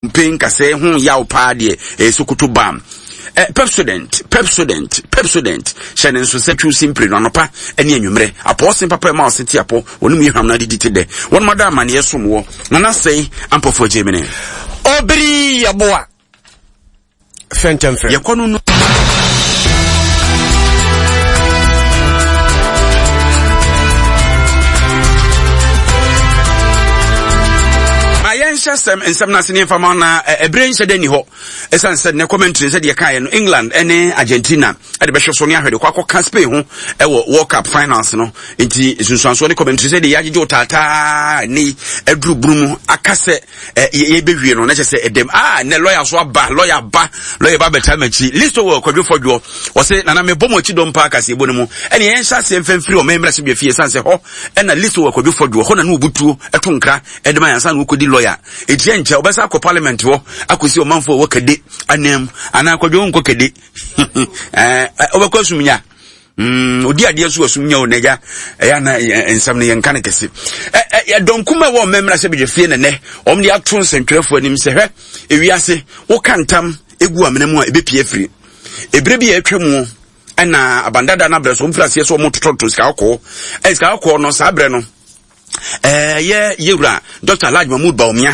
Mpe nkasɛɛ ho yaw paa deɛ ɛyɛ Sokoto bam. Eh, Pepsodent, Pepsodent, Pepsodent. Hyɛ ne nso sɛ twiw simpire no anɔpa ne anwummerɛ. Apɔɔsen papa ɛma ɔse te apɔ, wɔn mu yɛ hwam na adidi te dɛ. Wɔn ada amaneɛ som wɔ. Nana sɛe, ampɔfoɔ gyemene. Obiri yɛboa. Fɛntɛmfrɛ. Yɛkɔ no no. Ma yɛnhyɛ sɛm nsɛm no ase ne mfa ma na ɛberɛ nhyɛ da nni hɔ ɛsiane sɛ nnɛ commentary sɛ deɛ kaeɛ no England ne Argentina ɛde bɛhwɛ so ne ahwɛ de kɔ akɔka Spain ho ɛwɔ World Cup finals no nti nsunsuansoɔ ne commentary sɛ deɛ yɛagyegye wo taataa ne aduru bunu mu aka sɛ yɛbɛwie no na kyɛ sɛ ɛdɛm ah nɛ lɔya so aba lɔya ba lɔya ba bɛtaa m'akyi listo wɔ kwadwo fɔdwoɔ ɔse nana mebɔ mo akyi dɔm paa kaseɛbɔ no mu ɛne yɛnhyɛ aseɛ mfɛmfiri ɔman mmarahyɛ bia fie ɛsiane sɛ hɔ ɛna listo wɔ kwadwo fɔdwoɔ hɔ na ne wɔbutuo ɛto nkra ɛde ma yɛnsa na wɔkɔdi lɔya ɛti ɛnkyɛ wɔbɛsa akɔ parliament hɔ akɔsi ɔmanfoɔ wɔ kade anam anaa kwadwo nkɔ kade wobɛkɔ asumnya Mm, odi adeɛ so asum nyɛ o n'agya ɛyɛ ana nsɛm no yɛnka no kɛse ɛdɔm kuma ɛwɔ mmɛmmra sɛ badwa fie nɛnɛ wɔn de ato nsɛntwerɛfoɔ anim sɛ hwɛ ewiase woka ntam egu amena mu a ebepie afiri ebere bi a atwa mu ɛna abandada no abrɛ so wɔn firi aseɛ sɛ wɔn totɔtotɔ sika kɔkɔɔ ɛ sika kɔkɔɔ no saa brɛ no ɛyɛ yɛwura Dr. Alhaji Mahmood Bawumia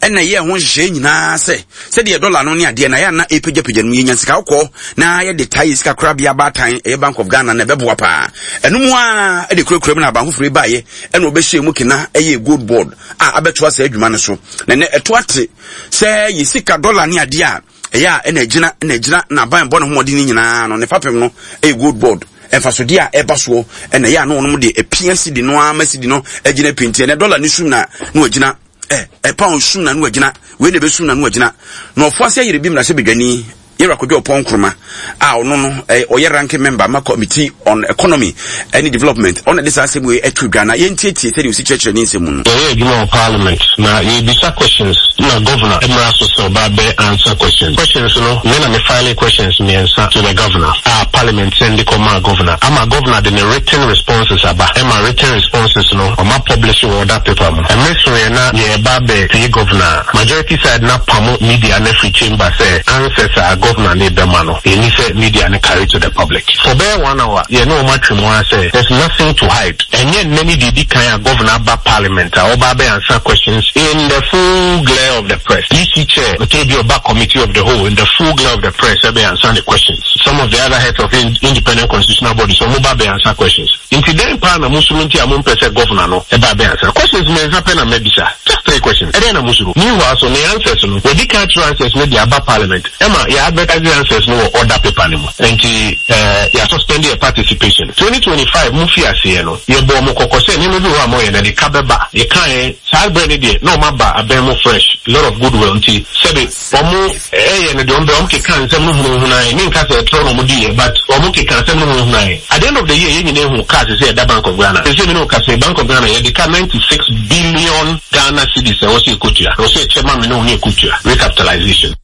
ɛna ɛyɛ ho nhyehyɛe nyinaa sɛ sɛdeɛ dɔla no ne adeɛ na yɛ ana ɛpagyapagya no yɛnya sika kɔkɔɔ na yɛde taa yɛ sika korabea baatan ɛyɛ Bank of Ghana na ɛbɛboa paa ɛno mu a ɛde kurakura mu na aban foforɔ yi baeɛ ɛna ɔbɛhyɛ mu kena ɛyɛ gold board a abɛtoa saa adwuma no so na ɛnɛ ɛto ate sɛ yɛ sika dɔla ne adeɛ a ɛyɛ a ɛna agyina ɛna agyina na aban bɔ ne ho mmɔden no nyinaa no ne fapem no ɛyɛ gold board mfasodeɛ a ɛba soɔ ɛna ɛyɛ a na wɔn de apia sidi no ama sidi no agyina pinti ɛnɛ dɔla ne sum na na wagyina ɛ ɛ pound sum na na wagyina wei na ɛbɛsum na na wagyina na ɔfo ase ayere bi mmarahyɛ badwani yɛwura kodwo ɔpɔn nkroma a ɔno no ɔyɛ ranking member ma committee on economy ɛne development ɔna de saa asɛm wei ɛto dwa na yɛntietie sɛdeɛ ɔsi kyerɛkyerɛ ne nsɛm mu no. Yɛyɛ adwuma wɔ parliament na yɛrebisa questions na governor mmra so sɛ ɔba abɛ answer questions. Questions no me na me file questions mmiɛnsa to the governor a parliament send kɔ maa governor ama governor de ne written responses aba ɛma written responses no ɔma publish wɔ order paper mu. Ɛmere soeɛ na yɛreba abɛ tie governor a majority side no apamo media no afiri chamber sɛ answers a governor no rebɛma no ɛnni sɛ media no carry to the public. For bɛyɛ one hour yɛne wɔn atwe mu ara sɛ there's nothing to hide. Ɛnyɛ nnɛ ne deɛ ɛdi kan a governor aba parliament a ɔba abɛ answer questions in the full glare of the press. EC chair ɔtɔ bi ɔba committee of the whole in the full glare of the press ɛbɛ answer ne questions. Some of the other heads of independent constitutional bodies wɔn ba bɛ answer questions. Nti dɛn paa na mosuro nti a mompɛ sɛ governor no ba abɛ answer questions mmiɛnsa pɛ na mabisa. Just three questions. Ɛdɛn na mosuro? Meanwhile so ne answers no wadi kan atwerɛ answers no de aba parliament ɛma yɛ advertise answers no wɔ order paper no mu. Nti eh, yɛ suspend yɛ participation. 2025 mo fi aseɛ no, yɛbɔɔ mo kɔkɔ sɛ nneɛma bi wɔ hɔ a moyɛ no ɛde ka bɛba. Yɛkaeɛ, saa berɛ no deɛ na wɔn aba abɛn mo fresh, lot of goodwill nti sɛbe wɔn ɛyɛ no deɛ wɔn bɛ, wɔn keka nsɛm no hunahunaeɛ, menka sɛ ɛtorɔ na wɔn diiɛ but wɔn keka asɛm no hunahunaeɛ. At the end of the year yɛn nyinaa hu cars sɛ ɛda Bank of Ghana. Seesei me ne wo kasa yi, Bank of Ghana yɛde ka 96 billion Ghana cedis a ɛwɔ sɛ yɛkɔtua, ɛwɔ sɛ yɛkyɛ ma me ne wo ne yɛkɔtua, recapitalization.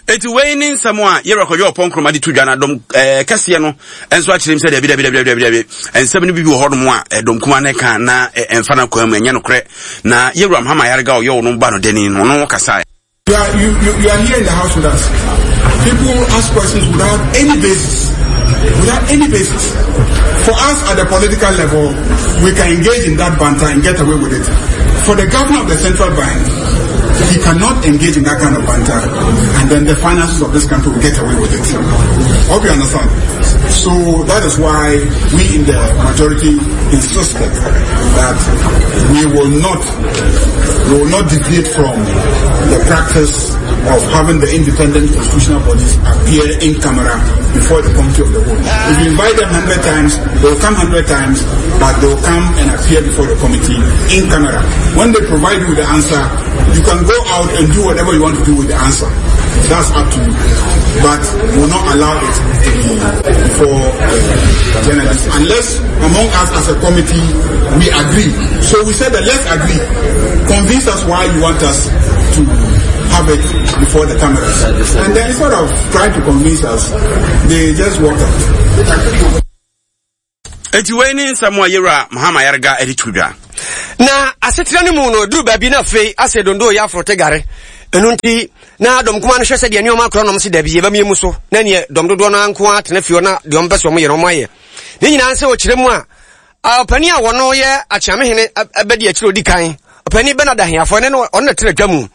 Eti wei ne nsɛm a Yɛwura Kwadwo Ɔpɔn Nkrumah de to dwa na dɔm ɛɛ kɛseɛ no nso akyerɛ mu sɛ dabi dabi dabi dabi dabi nsɛm no bi wɔ hɔnom a ɛdɔm kuma no ka na ɛmfa no kwan mu ɛnyɛ nokorɛ na Yɛwura Mahama Ayariga ɔyɛ ɔno ba no dani no ɔno kasae. You are, you, you, you are here in the house with us. People ask questions without any basis. Without any basis. For us at the political level, we can engage in that banter and get away with it. For the governor of the central bank, he cannot engage in that kind of banter, and then the finances of this country will get away with it. Hope you understand. So that is why we in the majority insisted that we will not we will not deviate from the practice of having the independent constitutional bodies appear in camera before the committee of the whole. If you invite them 100 times, they will come 100 times, but they will come and appear before the committee in camera. When they provide you with the answer, you can go out and do whatever you want to do with the answer. That's up to you. But we will not allow it to be before uh, journalists unless among us as a committee we agree. So we said that let's agree. Convince us why you want us to have it before the cameras. And then instead of trying to convince us, they just walked out. Eti wei ne nsɛm a yɛwura Mahama Ayariga de to dwa. Na asetena no mu no, duru baabi na afei asɛ dondo yɛ aforote gare. Ɛno nti, na dɔm kumaa no hwɛ sɛdeɛ nneɛma akorɔ nom se dabi, yɛbɛmia mu so, na neɛ dɔm dodoɔ no ara nko ara tena fie hɔ na deɛ wɔmpɛ sɛ wɔyɛ no wɔayɛ. Ne nyinaa sɛ ɔkyerɛ mu a, ɔpanin a wɔno yɛ akyeamehene bɛdi akyire ɔdi kan, ɔpanin Bernard Ahiafoɔ, ɛne no ɔno na tena dwa mu.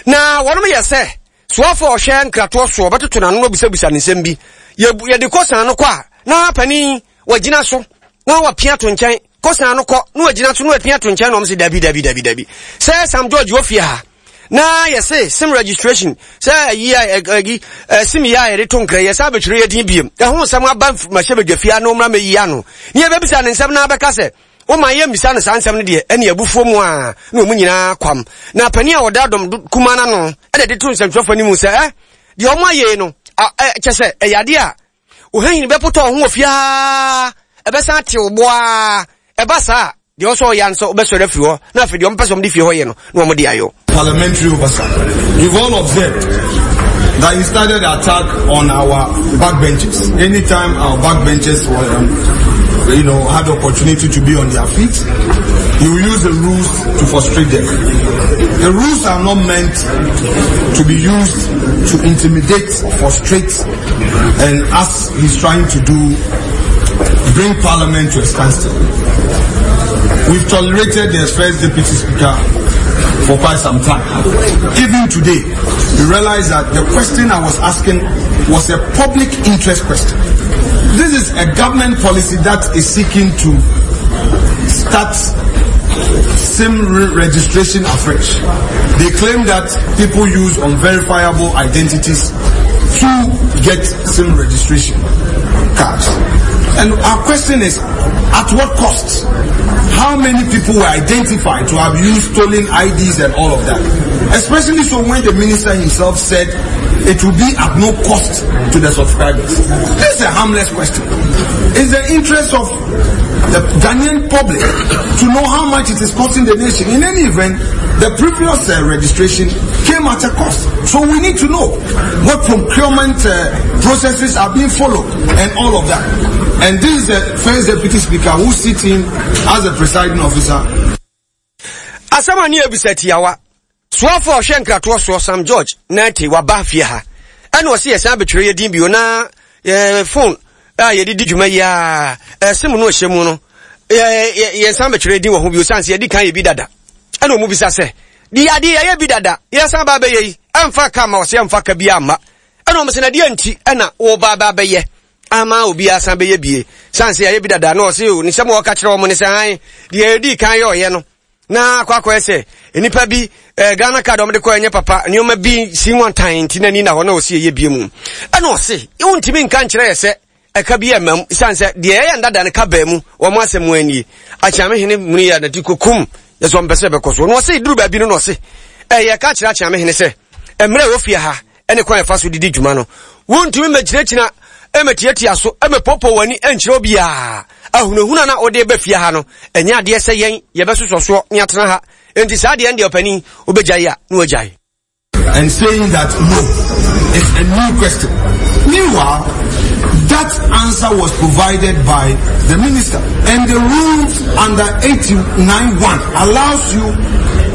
Na wɔnom yɛ sɛ soafoɔ a ɔhwɛ nkratoɔ soɔ bɛtoto n'ano na ɔbisabisa ne nsɛm bi. Yɛde kɔ san no kɔ a, na panin wagyina so na wapia to nkyɛn kɔ san no kɔ na wagyina so na wapia to nkyɛn na wɔn sɛ dabi dabi dabi dabi sɛ Sam George wɔ fie ha na yɛse sim registration sɛ ayi a ayi sim yi a yɛde to nkra yɛ sɛ abɛtwerɛ yɛ din biem ɛho nsɛm aba mahyɛ badwa fie ano mmra mɛyi ano ne yɛbɛbisa ne nsɛm na abɛka sɛ woma yɛ mmisa no saa nsɛm no deɛ ɛne abufuo mu a na wɔn nyinaa kwam na panin a ɔda dɔm kuma no ano ɛna de to nsɛmtwerɛfoɔ anim sɛ ɛ deɛ wɔn ayɛ no kyɛ sɛ ɛyɛ adeɛ a Ohɛn bɛpotɔ wo ho wɔ fie aa, ɛbɛsan ate wo bo aa. Ɛba saa a, deɛ ɔsɛ ɔyɛ ara ne sɛ wobɛsɔre afiri hɔ na afei deɛ wɔpɛ sɛ wɔde fie hɔ yɛ no na wɔde ayɔ. Parliamentary oversight. You've all observed that he started the attack on our backbenchers. Anytime our backbenchers were, um, you know, had the opportunity to be on their feet, he will use the rules to frustrate them. The rules are not meant to be used to intimidate, frustrate, and as he's trying to do, bring parliament to a standstill. We've tolerated the first deputy speaker for quite some time. Even today, we realize that the question I was asking was a public interest question. This is a government policy that is seeking to start SIM registration afresh. They claim that people use unverifiable identities to get SIM registration cards. And our question is, at what cost? How many people were identified to have used stolen IDs and all of that? Especially so when the minister himself said it will be at no cost to the subscribers. This is a harmless question. It's the interest of the Ghanaian public to know how much it is costing the nation. In any event, the previous uh, registration came at a cost. So we need to know what procurement uh, processes are being followed and all of that. And this is the first deputy speaker who sits in as a presiding officer. Asɛm a ne yɛbisa tiawa. Soafo a ɔhwɛ nkratoɔ soɔ Sam George Nartey waba fie ha ɛna ɔse yɛsan abɛtwerɛ yɛ din bio na yɛ phone a yɛde di dwuma yi a ɛsim no ɛhyɛ mu no yɛsan bɛtwerɛ din wɔ ho bio sane sɛ yɛdi kan yɛ bi dada ɛna ɔmu bisa sɛ de adeɛ yɛyɛ bi dada yɛsan ba abɛyɛ yi ɛmfa ka ma ɔsɛ ɛmfa ka bi amma ɛna ɔmo sɛ na deɛ nti ɛna wɔba ba abɛyɛ ama obi asan bɛyɛ bie sane sɛ yɛayɛ bi dada na ɔse ne sɛm a ɔka kyerɛ wɔn ne sɛ an deɛ yɛdi kan yɛ ɔyɛ no na akɔ akɔyɛ sɛ nnipa bi eh, Ghana card wɔde kɔ ɛnyɛ papa nneɛma bi si nwantan nti n'ani na hɔ na ɔsi ɛyɛ bie mu ɛna ɔse wontumi nka nkyerɛ yɛ sɛ ɛka bi ɛma mu siane sɛ deɛ ɛyɛ ndada no ka baa mu wɔn asɛm mu anie akyeame hene mu yɛ nati kokum yɛ sɛ ɔmpɛ sɛ ɛbɛkɔ so na ɔse duru baabi no na ɔse ɛyɛ ka kyerɛ akyeame hene sɛ mmerɛ ɛwɔ fie ha ne kwan a ɛfa so de di dwuma no. Wontumi mmɛgyinagyina mmɛtiatia so mmɛpoopoo w'ani nkyerɛ obiara. Ahunahuna na wode ba fie ha no, ɛnyɛ adeɛ sɛ yɛn yɛbɛsosɔ soɔ ne atena ha. Enti saa deɛ ɛndeɛ ɔpanin, wobɛgyae a na wagyae. And saying that no, it's a new question. Meanwhile, that answer was provided by the minister. And the rules under 89.1 allows you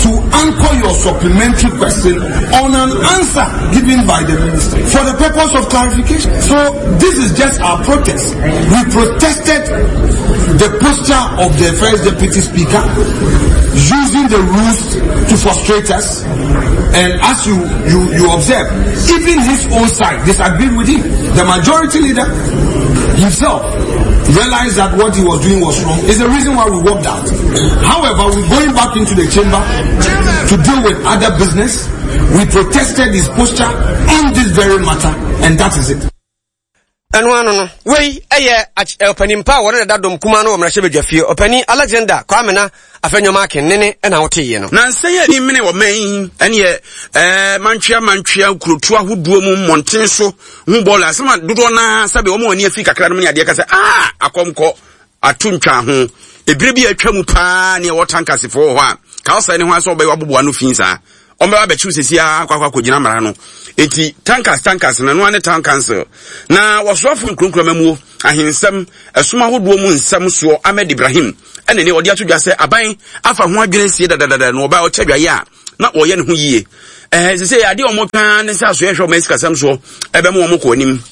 to anchor your supplementary question on an answer given by the minister for the purpose of clarification. So this is just our protest. We protested the posture of the first deputy speaker using the rules to frustrate us. And as you, you, you observe, even his own side disagreed with him. The majority leader himself realized that what he was doing was wrong. Is the reason why we walked out. However, we're going back into the chamber to deal with other business. We protested his posture on this very matter, and that is it. Ɛno ano no, wei yɛ ɔpanin pa a wɔne dada dɔm kumaa no wɔ mmarahyɛbadwa fie, ɔpanin Alexander Kwamena Afenyo-Markin ne ne na woteeɛ no. Nansa yi ani mene ɔman yi ɛneɛ ɛɛ mantwea mantwea nkurotu ahodoɔ mu mmɔnten so ho bɔɔla asɛm a dodoɔ naa sɛbe wɔn ani afi kakra no mu ne adeɛ ka sɛ aa akɔmkɔ ato ntwa ho ebire bi a atwa mu paa ne ɛwɔ tankasefoɔ wɔ hɔ a ka ɔsɛe ne ho asɛ ɔbɛyɛ waboboa no fi saa Wɔbɛba abɛkyew sɛsi ara akɔ akɔ akɔgyina mmara no. Enti tankers tankers no, ɛno ara ne town council. Na wɔsoafo nkuronkuro amammuo, ahensɛm, ɛsom ahodoɔ mu nsɛm soɔ Ahmed Ibrahim ɛna ne ɔde ato dwa sɛ aban afa ho adwene asie dadadada na ɔba ɔkyɛ dwaeɛ a na wɔyɛ ne ho yie. Ɛɛ sɛ sɛ adeɛ wɔn twɛn ne sɛ asoɛ hwɛ wɔn asikasɛm soɔ ɛbɛma wɔn kɔ anim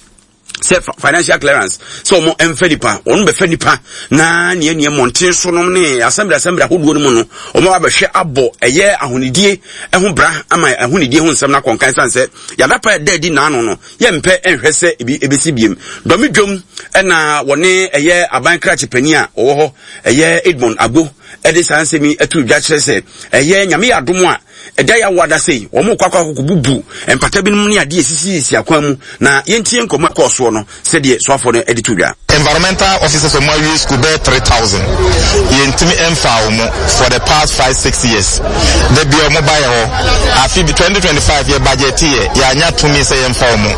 sɛ financial clearance sɛ wɔn mfa nipa wɔn bɛfa nipa na nea nea mmɔnten so nom ne assembly assembly ahodoɔ no mu no wɔn abɛhwɛ abɔ ɛyɛ ahonidie ho bra ama ahonidie ho nsɛm no akɔnkan san sɛ yadapa ɛda adi naano no yɛmpɛ nhwɛ sɛ ebi ebesi biem dɔmi dwom ɛna wɔne ɛyɛ aban krakye panin a ɔwɔ hɔ ɛyɛ Edmond Agbo ɛde saa nsɛm yi ato dwa kyerɛ sɛ ɛyɛ nyame yɛ adom a Ɛda yi awo ada sei, wɔn rekɔ akɔ akɔkɔ bubu mpata binom ne adeɛ esisisisi akwan mu, na yɛntie nkɔmmɔ a ɛkɔɔ soɔ no sɛdeɛ soafoɔ no de to dwa. Environmental officers wɔn awie school bɛyɛ 3000 yɛntumi mfaa wɔn for the past 5 6 years da bia wɔn ba yɛ hɔ afi bi 2025 yɛ budget yɛ yɛanya tumi sɛ yɛmfa wɔn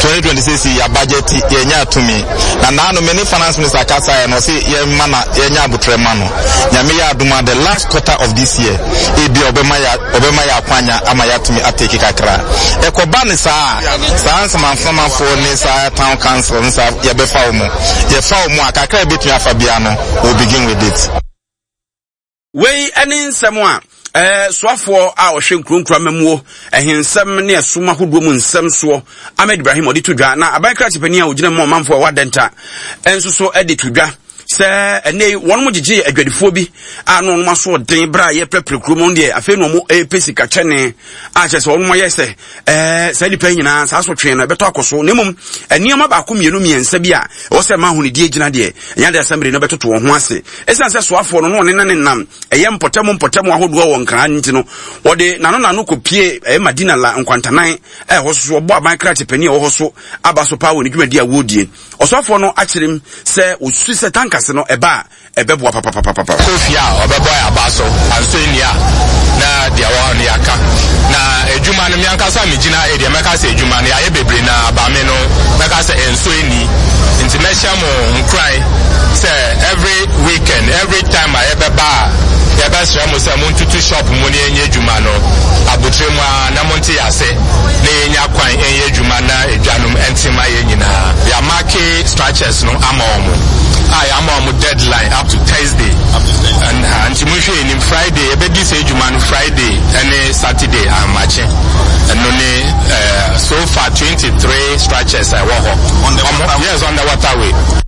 2026 yɛ budget yɛnya tumi na naano me ne finance minister kasa yɛ no ɔse yɛma na yɛnya abotrɛ ma no nyame yɛ adom a the last quarter of this year ebia ɔbɛma yɛ ɔbɛma yɛ akwanya ama yɛatumi atake kakra. Ɛkɔba ne saa a, saa nsamanframafoɔ ne saa town council ne saa yɛbɛfa wɔn. Yɛfa wɔn a, kakra a yɛbɛtumi afa biara no, we'll begin with it. Wei ne nsɛm a eh, soafoɔ a ɔhwɛ nkuronkuro amammuo, ɛhensɛm ne ɛsom ahodoɔ mu nsɛm soɔ, Ahmed Ibrahim ɔde to dwa, na aban krakye panin a ɔgyina mu ɔmanfoɔ a ɛwɔ Adenta nso so de to dwa sɛ ɛnɛ yi wɔn gyegye adwadifoɔ bi a na wɔn aso ɔden berɛ a yɛpɛpere kurom wɔn deɛ afei na wɔn repɛ sika kyɛne a kyerɛ sɛ wɔn ayɛ sɛ ɛɛ saa nipa yi nyinaa saa asotwe no ɛbɛtɔ akɔ so na mmom nneɛma baako mmienu mmiɛnsa bi a ɛwɔ sɛ ɛma ahonidie gyina deɛ ɛnyɛ adeɛ asɛmbre no bɛtoto wɔn ho ase ɛsiane sɛ soafoɔ no na ɔne na ne nam ɛyɛ mpɔtam mpɔtam ahodoɔ wɔ nkran nti no wɔde n'ano n'ano kɔpie ɛyɛ Madina la nkwantanan a ɛhɔ so wɔbɔ aban krakye panin a ɛwɔ hɔ so aba so paa wɔ ne dwumadi a wɔredie. Ɔsɔfoɔ no akyerɛ mu sɛ ɔsusu sɛ tankase no ɛba a ɛbɛboa papapapapa. Kɔ fie a ɔbɛbɔ yɛn aba so anso nni a na deɛ ɛwɔ hɔ no yɛaka. Na adwuma no me ankasa megyina ha yi deɛ mɛka sɛ adwuma no yɛayɛ bebree na aba me no mɛka sɛ ɛnso nni. Nti mɛhyɛ mo nkuran sɛ every weekend every time a yɛbɛba a yɛbɛsrɛ mo sɛ montutu shop mu na yɛnyɛ adwuma no abotire mu ara na monte yɛn ase na yɛnya kwan nyɛ adwuma na edwa no nte ma yɛn nyinaa. Yɛamake structures no ama wɔn a yɛama wɔn deadline up to Thursday. Ɛnha nti monhwɛ anim Friday yɛbɛdi saa adwuma no Friday ne Saturday ahomakye. Ɛno ne eh, so far 23 structures a ɛwɔ hɔ. Yes, on the waterway.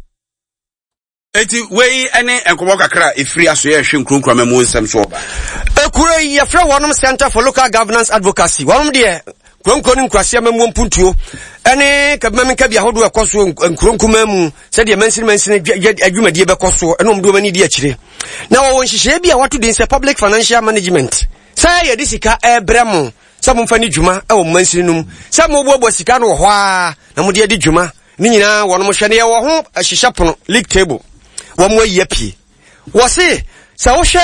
Enti wei ne nkɔmmɔ kakra a ɛfiri asoɛ ɛhwɛ nkuronkuro amammuo nsɛm so ɔba. Ekuro yi yɛfrɛ wɔnom Center for Local Governance Advocacy. Wɔnom deɛ nkuronkuro ne nkurase amammuo mpuntuo ɛne kabimam nkabi ahodoɔ ɛkɔ soɔ nkuro nkumaa mu sɛdeɛ mansini mansini adwumadie bɛkɔ soɔ ɛne wɔn de wɔn ani di akyire. Na wɔwɔ nhyehyɛeɛ bi a wɔato din sɛ Public Financial Management sɛ yɛde sika ɛrebrɛ mo sɛ momfa ne dwuma ɛwɔ mansini no mu sɛ moboaboa sika no wɔ hɔ a na mode adi dwuma Ne nyinaa wɔnom hwɛ no yɛwɔ ho hyehyɛ pono league table wɔn ayi apue wɔse sɛ wohwɛ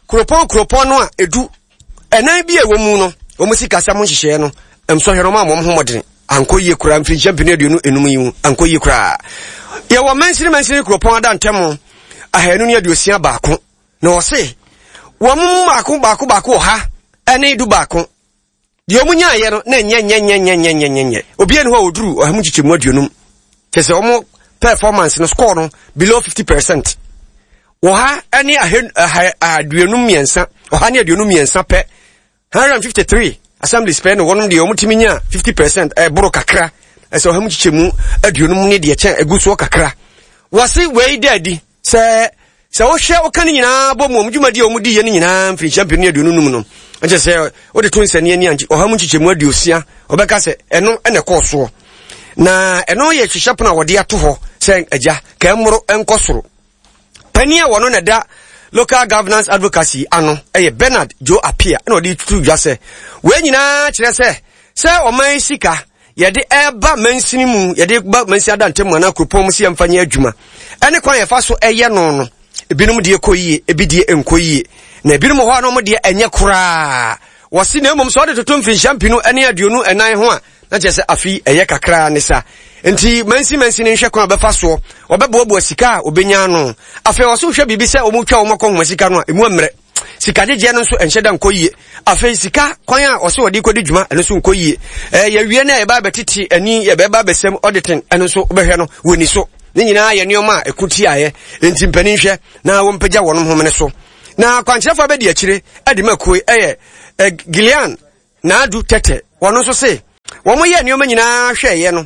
kuropɔn kuropɔn no a edu ɛnan bi a ɛwɔ mu no wɔn sikasɛm nhyehyɛeɛ no nsɔhwɛ no wɔn a wɔn ho mmɔden ankɔ yie koraa mfirinhyia mpenu aduonu enum yi mu ankɔ yie koraa yɛwɔ mansini mansini kuropɔn ada ntɛm 261 na wɔse wɔn mu baako baako baako wɔ ha ɛne du baako Deɛ wɔn nyaayɛ no na nyɛ nyɛ nyɛ nyɛ nyɛ nyɛ nyɛ nyɛ. Obiara ni hɔ a ɔduru 150%. Kyɛ sɛ wɔn performance no score no below 50%. Wɔ ha ne 153, 153 pɛ, 153 assemblies pɛ na wɔnom deɛ wɔtumi nya 50% ɛboro kakra. Ɛsɛ 150% ne deɛ kyɛn egu soɔ kakra. Wɔse wei da adi Sɛ sɛ wohwɛ woka ne nyinaa bɔ mu wɔn dwumadi a wɔn di yɛ no nyinaa mfirinhyia 2025 no, ɛkyɛ sɛ wode to nsɛnni ani a 60% wɔbɛka sɛ ɛno na ɛkɔɔ soɔ. Na ɛno yɛ hyehyɛ pono a wɔde ato hɔ sɛ agya kɛmmoro nkɔ soro. Panin a wɔno na ɛda local governance advocacy ano ɛyɛ Bernard Joe Appiah na ɔde tutu dwa sɛ wei nyinaa kyerɛ sɛ sɛ ɔman sika yɛde ɛreba mansini mu, yɛde ba mansini adantam mu anaa kuropɔn mu sɛ yɛmfa nyɛ adwuma. Ɛne kwan yɛfa so ɛyɛ no no, ebinom deɛ kɔ yie, ebi deɛ nkɔ yie. Na ebinom hɔ a na wɔn deɛ ɛnyɛ koraa. Wɔsi na mmom sɛ ɔde toto mfinhyia 2024 ho a, na kyerɛ sɛ afi ɛyɛ kakraa ne sa. Nti mansi mansini nhwɛ kwan a wɔbɛfa soɔ, wɔbɛboaboa sika a wɔbɛnya ano. Afei wɔso hwɛ biribi sɛ wɔtwa wɔn akɔnhoma sika no a, emu mmerɛ. Sika gyegyeɛ no nso ɛnhyɛ da nkɔ yie. Afei sika kwan a ɔsɛ ɔde kɔdi dwuma ɛno nso nkɔ yie. Ɛɛ yɛwie no a yɛba abɛtete ani yɛbɛba abɛsɛm auditing ɛno nso wobɛhwɛ no wɔ ni so. Ne nyinaa yɛ nneɛma a ɛko tiaeɛ. Enti mpanin hwɛ na wɔmpagya wɔn homene so. Na kwankyerɛfoɔ abɛdi akyire de ma kuo ɛyɛ Gillian. Naadu Tɛtɛ, wɔn nso se wɔn yɛ nneɛma nyinaa hwɛeɛ no,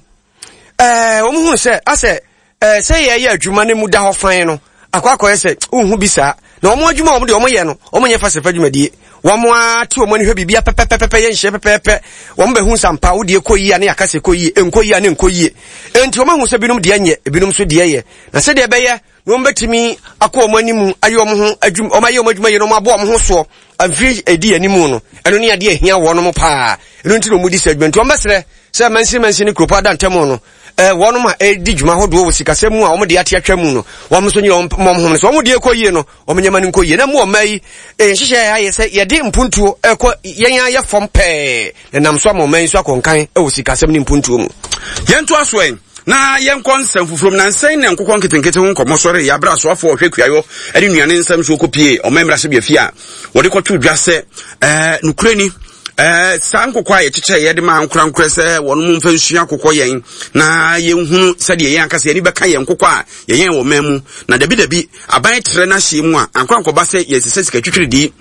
ɛɛ wɔn hu sɛ asɛ ɛɛ sɛ yɛyɛ adwuma no mu da hɔ fann no akɔ akɔyɛ sɛ wohu bi saa na wɔn adwuma wɔn deɛ wɔn yɛ no wɔn nyɛ fasɛfa dwumadie wɔn ara te wɔn ani hwɛ biribi pɛpɛpɛpɛ yɛ nhyɛ pɛpɛɛpɛ wɔn bɛhu sampa wo deɛ kɔ yie a ne yɛaka sɛ kɔ yie nkɔ yie a ne nkɔ yie enti wɔn ahu sɛ binom deɛ nyɛ ebinom nso deɛ yɛ na sɛdeɛ ɛbɛyɛ na wɔn bɛtumi akɔ wɔn anim ayɛ wɔn ho adwuma wɔn ayɛ wɔn adwuma yie na wɔn abɔ wɔn ho soɔ mfiri edi anim no ɛno ne adeɛ ehia wɔn paa ɛno nti na wɔn di sɛ adwuma nti wɔn bɛsrɛ sɛ mansin mansin ne kuropɔn ada ntam no ɛɛ wɔn a ɛredi dwuma ahodoɔ wɔ sikasɛm mu a wɔn de ate atwa mu no wɔn nso nyɛ wɔn wɔn ho no so wɔn deɛ kɔ yie no wɔn nyɛma no nkɔ yie na mu ɔmaa yi nhyehyɛ ayɛ sɛ yɛde mpuntuo ɛkɔ yɛn ayɛ fam pɛɛ na nam so ama ɔman yi nso akɔnkan wɔ sikasɛm ne mpuntuo mu. Yɛntoa so ɛ na yɛnkɔ nsɛm foforɔ mu. Nansa yi na nkokɔ nketenkete ho nkɔmmɔ sɔree yɛ berɛ a soafoɔ a ɔhwɛ kuayɔ ne nnuane nsɛm so kɔpie ɔman mmarahyɛbea a wɔde kɔtoo dwa sɛ ɛɛ nokorɛ ni ɛɛ saa nkokɔ a yɛkyekyɛ yɛde ma ankorankorɛ sɛ wɔn mu mfa nsua akokɔ yɛn na yɛnhunu sɛdeɛ yɛn ankasa yɛn ani bɛka yɛn nkokɔ a yɛyɛn wɔ man mu na dabi dabi aban trɛ n'ahyeɛ mu a ankorankɔba sɛ yɛsesɛ sika twitwiridii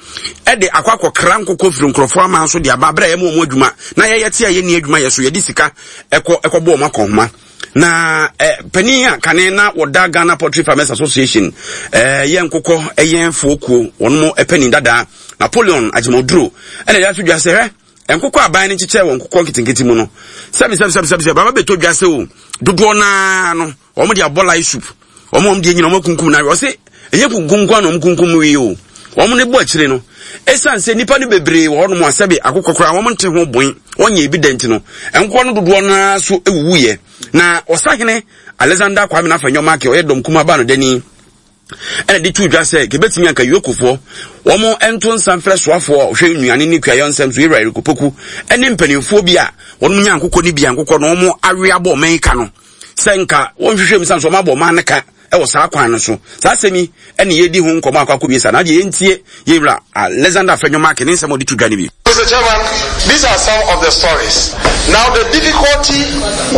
de akɔ akɔkra nkokɔ firi nkurɔfoɔ aman so de aba berɛ a yɛma wɔn adwuma na yɛyɛ te a yɛnni adwuma yɛ so yɛde sika ɛkɔ ɛkɔbɔ wɔn akɔnhoma na eh, panin a kane na wɔda Ghana Poultry Farmers Association eh, yɛ nkokɔ ɛyɛnfoɔ kuo wɔn mo panin dadaa Napoleon Agyemɔduro ɛna yɛato dwa sɛ hwɛ nkokɔ aban no kyekyɛ wɔ nkokɔ nketenkete mu no sɛbi sɛbi sɛbi sɛbi sɛ baba bɛtɔ dwa sɛ o dodoɔ naa no Wɔn de abɔ lai soup. Wɔn wɔn deɛ nyina wɔn akunkum na ɔse ɛnyɛ kunkum nko na wɔn kunkum wie o. Wɔn ne bɔ akyire no. Ɛsan sɛ nipa no bebree wɔ hɔnom a sɛbe akokɔ koraa wɔn nte ho boen wɔn nyɛ ebi da nti no nkokɔ no dodoɔ no ara so ewuwu yɛ. Na ɔsahene Alexander Kwame Nafanyɔ Markey ɔyɛ dɔm kumaa ba no dani. ɛna de too dwa sɛ kebetumi anka Yokofoɔ wɔn nto nsa mfrɛ soafoɔ a ɔhwɛ nnuane ne kuayɔ nsɛm so Ewura Eric Opoku ne mpanimfoɔ bi a wɔn nya nkokɔ ne bi a nkokɔ no wɔn awe abɔ ɔman yi ka no sɛ nka wɔnhwehwɛ mu sane so wɔn abɔ ɔman no ka wɔ saa kwan no so. Saa asɛm yi ɛne yɛdi ho nkɔmmɔ akɔ akɔwie saa na adeɛ yɛntie yɛwura Alexander Afenyo-Markin ne nsɛm a ɔde to dwa no bi. Mr. Chairman, these are some of the stories. Now, the difficulty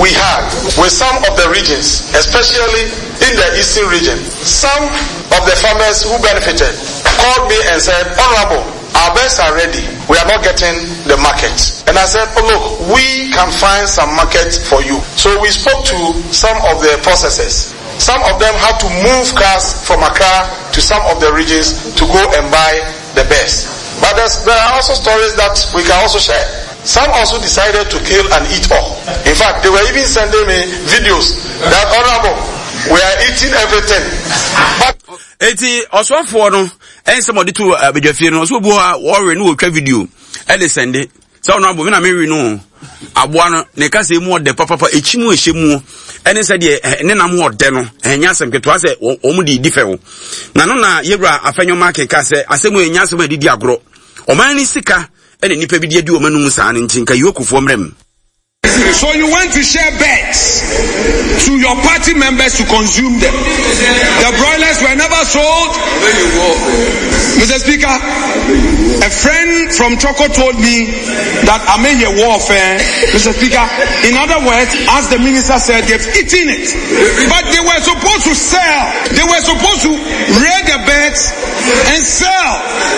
we had with some of the regions, especially in the eastern region, some of the farmers who benefited called me and said, Honorable, our birds are ready. We are not getting the market. And I said, oh, look, we can find some market for you. So we spoke to some of the processors. Some of them had to move cars from Accra to some of the regions to go and buy the best. But there are also stories that we can also share. Some also decided to kill and eat all. In fact, they were even sending me videos that, Honorable, we are eating everything. But Eti ɔsɔfoɔ no ɛnsɛm ɔde to abadwafie no ɔsɛ obi hɔ a wɔwe no wɔtwa video ɛde sɛnde sɛ ɔno abo me na mewe no aboa no ne kasa mu ɔdɛ papapa ekyi mu ehyɛ mu ɛne sɛ deɛ ne nam ɔdɛ no ɛnyɛ asɛm ketewa sɛ wɔn de di fɛw na no na yɛwura afɛnyɔma keka sɛ asɛm ɛnyɛ asɛm a ɛde di agorɔ ɔman ne sika ɛna nipa bi de adi wɔn anum saa no nti nka yokofoɔ mmerɛ mu. So you went to share beds to your party members to consume them. The broilers were never sold. Mr. Speaker, a friend from Choco told me that I may hear warfare. Mr. Speaker, in other words, as the minister said, they've eaten it. But they were supposed to sell. They were supposed to rear the birds and sell.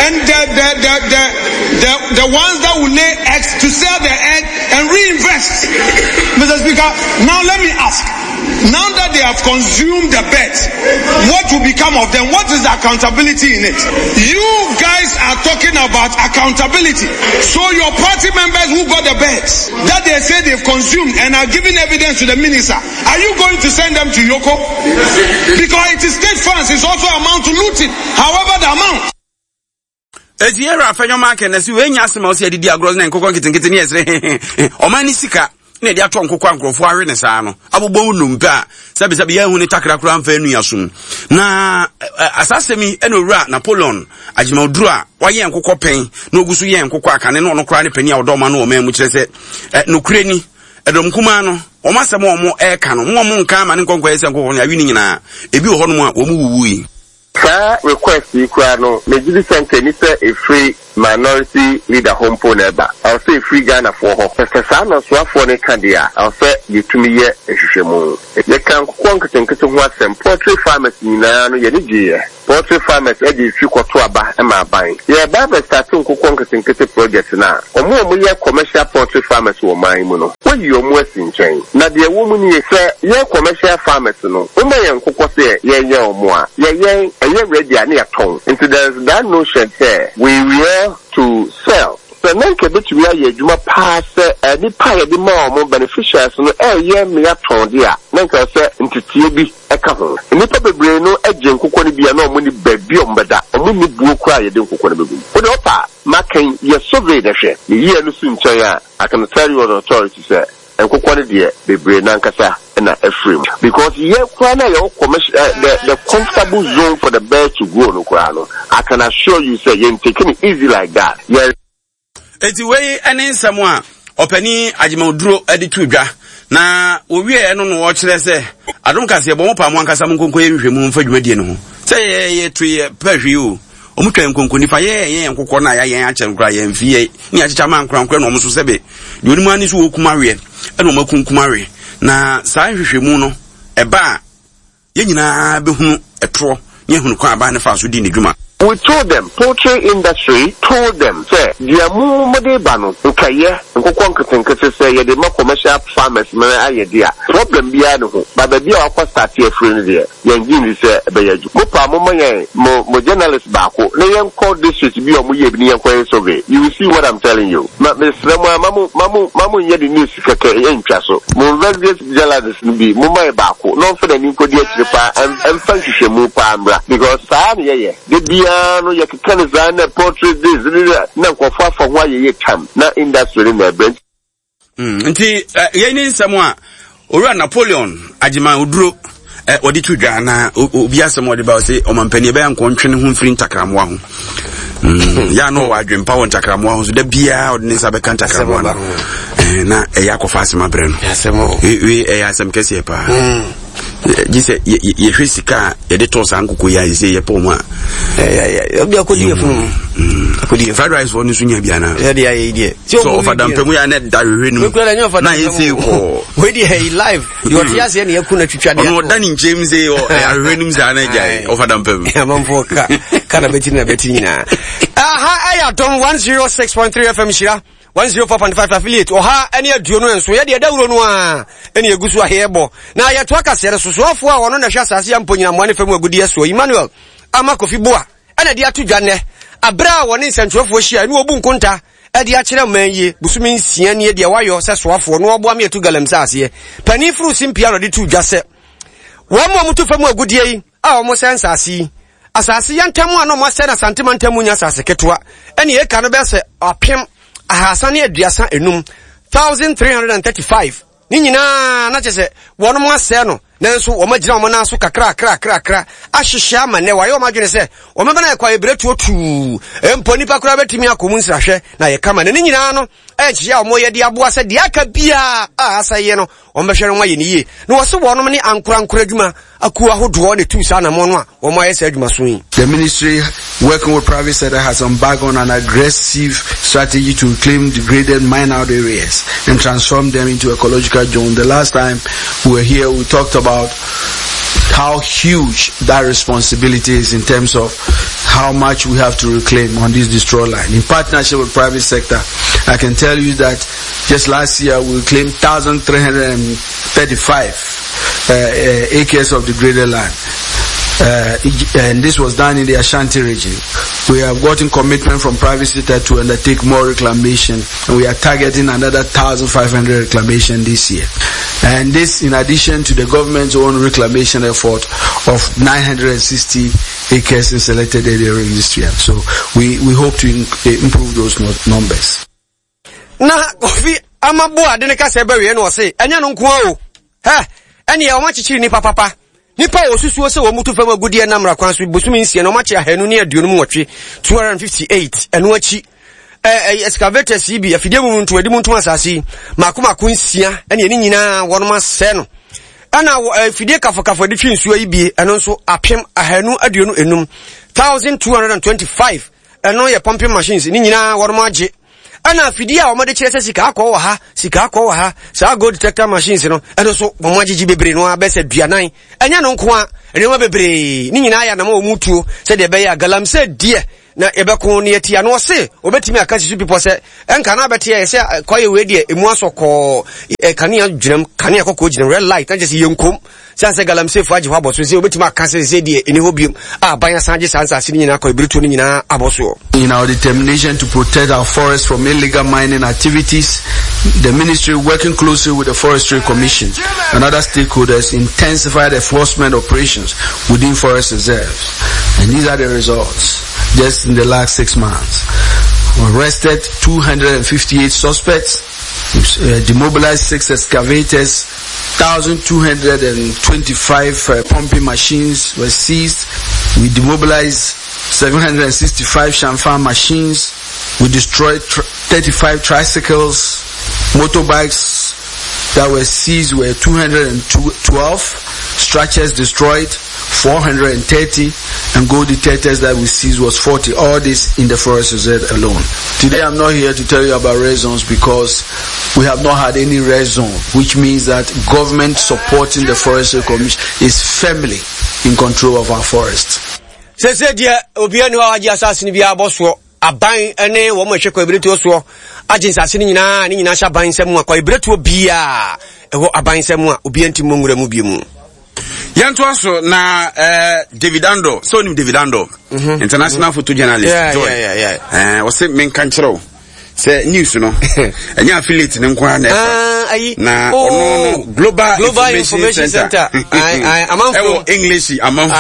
And the, the, the, the, the, the ones that will lay eggs to sell the egg and reinvest. Mr. Speaker, now let me ask. Now that they have consumed the birds, what will become of them? What is the accountability in it? You guys are talking about accountability. So your party members who got the birds that they say they've consumed and are giving evidence to the minister, are you going to send them to Yoko? Because it is state funds, it's also amount to looting, however the amount. Eti yɛwura afɛnyɔma akɛ na si wei nya asɛm a ɔsɛ yɛde di agorɔ na nkokɔ nketenkete ne yɛsrɛ hehehe ɔman ne sika na yɛde atɔ nkokɔ a nkurɔfoɔ awe ne saa no abobɔ wo nnompe a sɛbisɛbi yɛnhu ne takra koraa mfa anu asom na asasɛm yi ɛna owura Napoleon Agyeman-Oduro a wayɛ nkokɔ pɛn na ogu so yɛ nkokɔ akane na ɔno koraa ne panin a ɔdɔ ɔman no wɔ ɔman mu kyerɛ sɛ nokorɛ ni ɛdɔm kumaa no wɔn asɛm a wɔn ɛreka no mo a wɔn nka ama ne nkɔnkɔyɛ sɛ nkokɔ no awi ne nyinaa ebi wɔ hɔnom a wɔn wuwui. Saa request yi koraa no, megye di sɛ nka ɛni sɛ ɛfiri minority leader hɔ mpo na ɛba. Ɛwɔ sɛ ɛfiri Ghanafoɔ hɔ. Sɛ saa na ɔsoafoɔ no reka deɛ a, ɛwɔ sɛ yɛtumi yɛ nhwehwɛmu. Yɛka nkokɔ nketenkete ho asɛm, poultry farmers nyinaa no yɛn ani gyeeɛ. Poultry farmers de mfi kɔto aba ma aban. Yɛreba abɛstarte nkokɔ nketenkete project no a, wɔn a wɔyɛ commercial poultry farmers wɔ ɔman yi mu no, wɔayi wɔn asi nkyɛn. Na deɛ ɛwɔ mu nie, sɛ yɛn commercial farmers no, woma yɛn nkokɔ sɛ yɛnyɛn wɔn a, yɛyɛn, ɛyɛ ready a na yɛatɔn. Nti there is that notion sɛ we rear to sell. Sɛ na anka ɛbɛtumi ayɛ adwuma paa sɛ nnipa a yɛde maa wɔn, beneficiaries no, reyɛ mmea tɔn de a, na anka ɛsɛ sɛ nteteɛ bi ka ho. Nnipa bebree no gye nkokɔ no bi a na wɔnni baabi a wɔbɛda, wɔnni buo koraa a yɛde nkokɔ no bɛgu mu. Wo deɛ wopɛ a, ma kan yɛ survey na hwɛ. Meyi ɛno si nkyɛn a, I can tell you on authority sɛ nkokɔ no deɛ bebree no ankasa na afiri mu because yɛn koraa no a yɛwɔ commercial eh, the, the comfortable zone for the bird to grow no koraa no, I can assure you sɛ yɛn take no easy like that. Yɛn. Eti wei ne nsɛm a ɔpanin Agyemawduro de to dwa na wɔwieɛ no no wɔkyerɛ sɛ adom kaseɛ bɔ mo paa mo ankasa mo nkonko yɛ nhwehwɛmu mfa dwumadie no ho sɛ yɛyɛ to yɛ pɛ hwee o wɔn twa nkonko nifa yɛ yɛn nkokɔ no a yɛayɛn akyɛ no koraa yɛn mfi yɛ ne yɛakyekyɛ ama ankorankorɛ na wɔn nso sɛbe deɛ onim ani so wɔkum aweɛ ɛna wɔn akunkum awe na saa nhwehwɛmu no ɛba a Yɛn nyinaa bɛhunu ɛtorɔ ne ahunu kwan a aban no faa so dii ne dwuma. We told them, poultry industry told them sɛ deɛ mo mode ba no nka yɛ nkokɔ nketenkete sɛ yɛde ma commercial farmers ma ayɛ de a problem biara ne ho but baabi a wakɔ starte afiri no deɛ yɛn gye nni sɛ ɛbɛyɛ adwuma. Mo paa momma yɛn mo mo journalist baako na yɛnkɔ district bi a wɔn yɛ bi ne yɛnkɔ yɛ survey you will see what I'm telling you. Ma mesrɛ mo ara ma mo ma mo ma mo nyɛ de news kɛkɛ ɛntwa so. Mo investigate journalist no bi momma yɛ baako na ɔmfa n'ani nkɔdi akyire paa ɛmfa nhwehwɛmu paa mmra because saa na yɛyɛ da biara no yɛkeka no saa na portrait this na nkurɔfoɔ afa ho ayɛ yɛ tam na industry no na ɛbrɛ. Nti yei ne nsɛm a Owura Napoleon Agyeman Oduro wɔde to dwa na obi asɛm wɔde ba ɔse ɔmampanin ɛbɛyɛ nkɔ ntwe ne ho mfiri ntakrammoa ho. Yɛ a na ɔwɔ adwempa wɔ ntakrammoa ho so da biara ɔde ne nsa bɛka ntakrammoa no na ɛyɛ akɔfa asɛm abrɛ no. Wei ɛyɛ asɛm kɛseɛ paa. Gye sɛ yɛhwɛ sika a yɛde tɔɔ saa nkokɔ yi a yɛsɛ yɛpɔ mu a obi akɔdi yɛ funu akɔdi fried rice fɔ no so nya bi anaa yɛde ayɛ yi deɛ sɛ ɔfa dampɛ mu yɛ a na ɛda hwehwɛ no mu na yɛ sɛ kɔɔ wei deɛ ɛyi live deɛ ɔte aseɛ ne yɛku no atwitwa deɛ ɔno ɔda ne nkyɛn mu sɛ ahwehwɛ no mu saa na agyae ɔfa dampɛ mu amanfoɔ ka ka na bɛti na bɛti nyinaa aha ɛyɛ adom 106.3 fm hyira 104.5 affiliate 127 yɛde ɛdawuro no a ɛne ɛgu so aheyɛ bɔ na yɛtoa kaseɛ no so soafoɔ a wɔno na ɛhwɛ asase yɛ mpo nyinammoa ne fam agudeɛ soɔ Emmanuel Ama Kofi Boa ɛna de ato dwa nnɛ aberɛ a wɔne nsɛntwerɛfoɔ hyia ɛne wɔbu nkonta ɛde akyerɛ man yie bosome nsia nie deɛ wayɔ sɛ soafoɔ na wɔboa me atu galamsey aseɛ panin foro simpia na ɔde to dwa sɛ wɔn a wɔtu fam agudeɛ yi a wɔsɛe nsase yi Asase yantam a na wɔasɛe no Asante mantam mu nyɛ asase ketewa, ɛne eka no bɛyɛ sɛ 335, 1335. Ne nyinaa na kyerɛ sɛ wɔnom asɛe no, nanso wɔn agyina wɔn nan so kakrakrakrakra ahyehyɛ ama nnɛ wɔayɛ wɔn adwene sɛ wɔn bɛma no ayɛ kwaeɛ berɛtuo tuu. Mpo nnipa koraa bɛtumi akɔ mu nsrahwɛ na ayɛ kama. Na ne nyinaa no ɛyɛ nhyehyɛ a wɔyɛ de aboa sɛ deɛ aka biara a asɛeɛ no wɔbɛhwɛ no wɔayɛ no yie. Na wɔse wɔnom ne ankorankoro adwuma akuo ahodoɔ na ɛtuu saa anammɔn no a wɔayɛ saa adwumaso yi. The ministry, working with private sector, has embarked on an aggressive strategy to reclaim degraded mine-out areas and transform them into ecological zones. The last time we were here, we talked about how huge that responsibility is in terms of how much we have to reclaim on this destroyed line. In partnership with private sector, I can tell you that just last year we reclaimed 1,335 uh, uh, acres of degraded land. Uh, and this was done in the Ashanti region. We have gotten commitment from private sector to undertake more reclamation, and we are targeting another 1,500 reclamation this year. And this in addition to the government's own reclamation effort of 960 acres in selected area this year. So we, we hope to in, improve those numbers. Na Kofi ama bo ade ne kasa bɛwie no ɔse ɛnyɛ no nko ara o hɛ ɛneɛ wɔn akyekyere nipa papa nipa a wɔsusuo sɛ wɔn mutu fam agudeɛ nam mmara kwan so bosome nsia na wɔn akye 258 258 ɛno akyi ɛɛ excavators yi bi afidie mu nto adi mu ntom asase yi mako mako nsia ɛne ɛne nyinaa wɔn asɛ no. Ɛna afidie kafokafo de twe nsuo yi bie, ɛno nso 1225, 1225, ɛno yɛ pumping machines, ne nyinaa wɔn agye. Ɛna afidie a wɔde kyerɛ sɛ sika akɔ wɔ ha, sika akɔ wɔ ha, saa gold detector machines no, ɛno nso wɔn agyegye bebree no ara bɛsɛ duanan. Ɛnyɛ no nko a, nneɛma bebree, ne nyinaa yɛ anam a wɔn tuo sɛdeɛ ɛbɛyɛ a galamsey deɛ na yɛbɛko ne yɛtia no. Ɔse wɔbɛtumi aka si so bepɔ sɛ ɛnka na abɛteɛ yɛ sɛ kɔyɛ wei deɛ ɛmu asɔ kɔɔ, kanea gyinam, kanea kɔkɔɔ gyinam, red light, na kyɛ sɛ yɛnkom sɛ sɛ galamseyfo agye hɔ abɔ so sɛ wɔbɛtumi aka sɛ sɛ deɛ ɛni hɔ biom a aban asan agye saa nsase no nyinaa kɔ ɛberɛtuo no nyinaa abɔ soɔ. In our determination to protect our forests from illegal mining activities, the ministry, working closely with the Forestry Commission and other stakeholders, intensified enforcement operations within forest reserves. And these are the results just in the last 6 months. We arrested 258 suspects, demobilized 6 excavators, 1,225 pumping machines were seized. We demobilized 765 changfan machines. We destroyed 35 tricycles. Motorbikes that were seized were 212, structures destroyed 430, and gold detectors that we seized was 40. All this in the forest reserve alone. Today I'm not here to tell you about red zones because we have not had any red zone, which means that government supporting the Forestry Commission is firmly in control of our forest. Sese deɛ obiara ni hɔ a wagye asase no biara bɔ soɔ. Aban ne wɔn a ɛhwɛ kwaebiretuo soɔ agye nsase no nyinaa, ne nyinaa hyɛ aban nsa mu a kwaebiretuo biara ɛwɔ aban nsa mu a obiara nti mmɔ nwura mu bio mu. Yɛntoa so na eh, David Ando, sɛ onim David Ando, mm -hmm. international mm -hmm. photojournalist, yeah, Joy. Yeah, yeah, yeah. Eh, ɔse menka nkyerɛ wo sɛ news no ɛnyɛ affiliate no nko ara na ɛfa ah, na ɔno no oh, global, global information center ɛwɔ english amanfo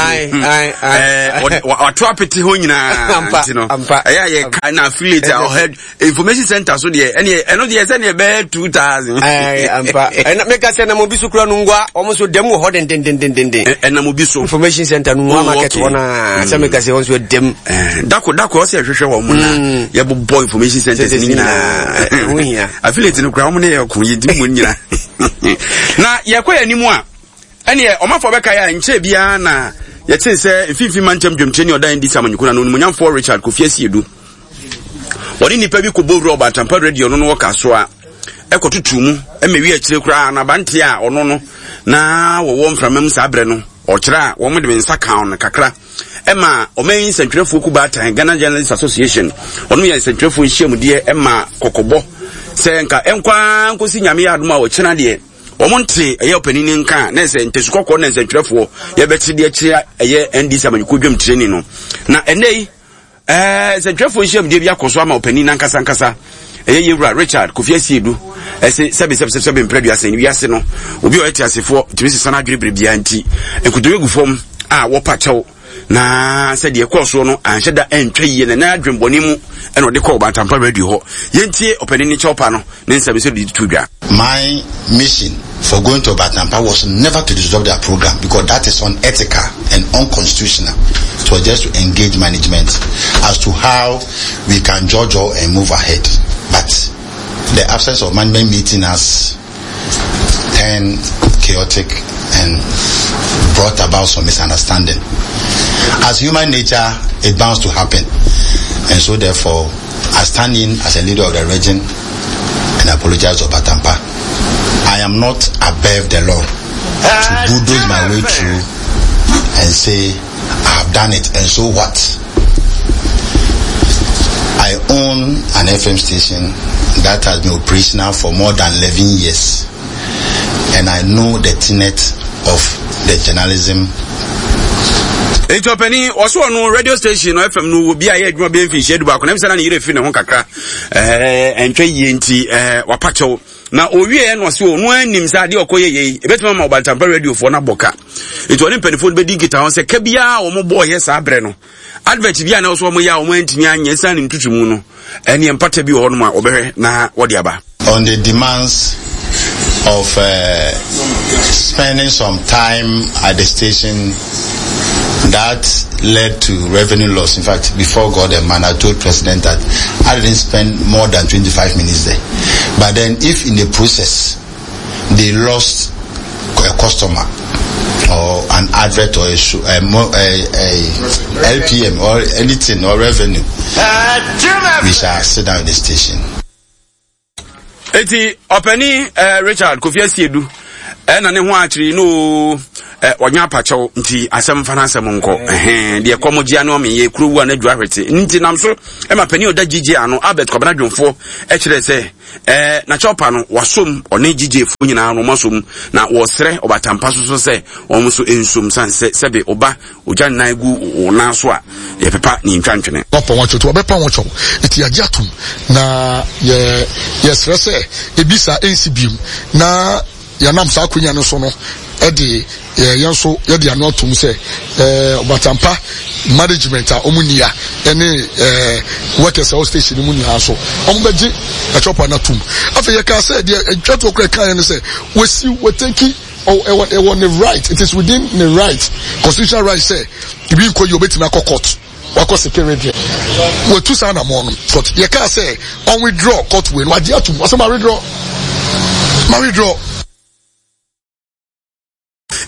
wato apete hɔ nyinaa nti no ɛyɛ a yɛka na affiliate a ɔhead information center so deɛ ɛneɛ ɛno deɛ sɛdeɛ ɛbɛyɛ 2000 ampa meka sɛ nam obi so kura no ngua ɔmo so dɛm wɔ hɔ dendendendenden ɛnam obi so information center no ngua oh, market hɔ naa sɛ meka sɛ wɔn so dɛm dako dako ɔsɛ ɛhwehwɛ wɔn na mm. yɛbobɔ information centers no nyinaa ɛho hia affiliate no kura wɔn ne yɛ ko yɛdi mu nyinaa na yɛkɔ yɛn anim a ɛneɛ ɔmanfoɔ bɛka yɛ a nkyɛn biara na yɛte sɛ mfimfini mantam dwamkyerɛ ne ɔdan di samanyukuna no onimonyamfoɔ Richard Kofi Asiedu wɔne nnipa bi kɔbɔ wura ɔbatampa radio no no wɔ kasoa ɛkɔtoto mu ɛma wi akyire koraa na abanteɛ a ɔno no na wɔwɔ mframa mu saa berɛ no ɔkyerɛ a wɔn de nsa kan no kakra ɛma ɔman yi nsɛntwerɛfoɔ ku baatan Ghana Journalists Association ɔno yɛ nsɛntwerɛfoɔ nhyiamudeɛ ɛma kɔkɔbɔ sɛ nka ɛnkwa nkosi nyame yɛ adom a ɔkyena deɛ wɔn nte ɛyɛ ɔpanin ne nka a na ɛsɛ ntasu kɔkɔɔ na nsɛntwerɛfoɔ yɛbɛte deɛ kyerɛ ɛyɛ NDC amanyɔkuo dwam tireni no na ɛnɛ yi ɛɛ nsɛntwerɛfoɔ nhyiamudeɛ bi akɔ so ama ɔpanin nankasa nkasa ɛyɛ yɛwura Richard Kofi Asiedu ɛse sɛbe sɛbe sɛbe sɛbe mprɛ duasa ni wiase no obi a ɔyɛ teasefoɔ tumi sesa n'adwene bere biara nti nkotodwe gu fam a wɔpa kyɛw na sɛdeɛ ɛkɔɔ soɔ no anhyɛ da antwa yie na na adwembɔne mu ɛna ɔde kɔɔ Ɔbantampa radio hɔ yɛntie ɔpanin ne kyɛw pa no ne nsɛm sɛ de to dwa. My mission for going to Obatampa was never to disrupt their program because that is unethical and unconstitutional. It was just to engage management as to how we can judge all and move ahead. But the absence of management meeting us turned chaotic and brought about some misunderstanding. As human nature, it bounds to happen. And so therefore, I stand in as a leader of the region and apologize to Batampa. I am not above the law to bulldoze my way through and say, I have done it, and so what? I own an FM station that has been operational for more than 11 years. And I know the tenet of the journalism nti ɔpanin ɔso ɔno radio station no fm no wɔ bi a yɛ adwuma bɛyɛ mfinhyia du baako na ɛm sɛ na ne yerɛ firi ne ho kakra ɛɛ ɛntwa yie nti ɛɛ wapa kyɛw na owie na ɔse ɔno anim sɛ adeɛ ɔkɔ yɛ yei ɛbɛtumi ama ɔbantampa radiofoɔ no abɔ ka nti ɔne mpanimfoɔ no bɛdi nkitaho sɛ ka biara a wɔn bɔɔ yɛ saa berɛ no advert bi a na ɔso wɔn yɛ a wɔn antumi anyɛ ɛsiane ntutu mu no ɛne mpata bi wɔ hɔnom a wɔbɛhwɛ na wɔde aba. On the demands of uh, spending some time at the station that led to revenue loss. In fact, before God and man, I told President that I didn't spend more than 25 minutes there. But then if in the process they lost a customer or an advert or a, a, a, a LPM or anything or revenue, we shall sit down in the station. Eti ɔpani eh, Richard Kofi Asiedu ɛna eh, ne ho akyere no eh, ɔnya apakyɛw nti asɛm fa n'asɛm nkɔ ɛhɛn deɛ kɔm gyea ne ɔme yɛ kuro wu a n'adwa ahwete nti nam so ɛma panin ɔda gyigye ano Albert Kwabena Dwomfoɔ ɛkyerɛ sɛ ɛɛ n'akyɛwpa no wasom ɔne gyigyefoɔ nyinaa no wɔasom na wɔsrɛ ɔbatampa so so sɛ wɔn nso nsom san sɛ sɛbe ɔba Ogya nnan gu wo nan so a, yɛpepa ne ntwa ntwene. Wapa ho akyɛw nti wabɛpa ho kyɛw nti yɛagye atom na yɛ yɛsrɛ sɛ ebi saa ɛnsi biom na yɛnam saa akonya no so no ɛde yɛn nso yɛde ano atom sɛ ɛɛ ɔbatampa management a wɔn nia ɛne ɛɛ workers a wɔ station no mu nyinaa nso wɔn bɛgye ɛkyɛwpa no atom afei yɛka sɛ deɛ ɛtwa toɔ kora ɛka yɛn no sɛ wɔsi wɔtɛki ɛwɔ ɛwɔ ne right it is within ne right constitutional right sɛ ebi nkɔ yi obetumi akɔ court wakɔ security wɔtu saa anamɔ no court yɛ kaa sɛ ɔn withdraw court wei no wagye atum wɔsɛ ma withdraw ma withdraw.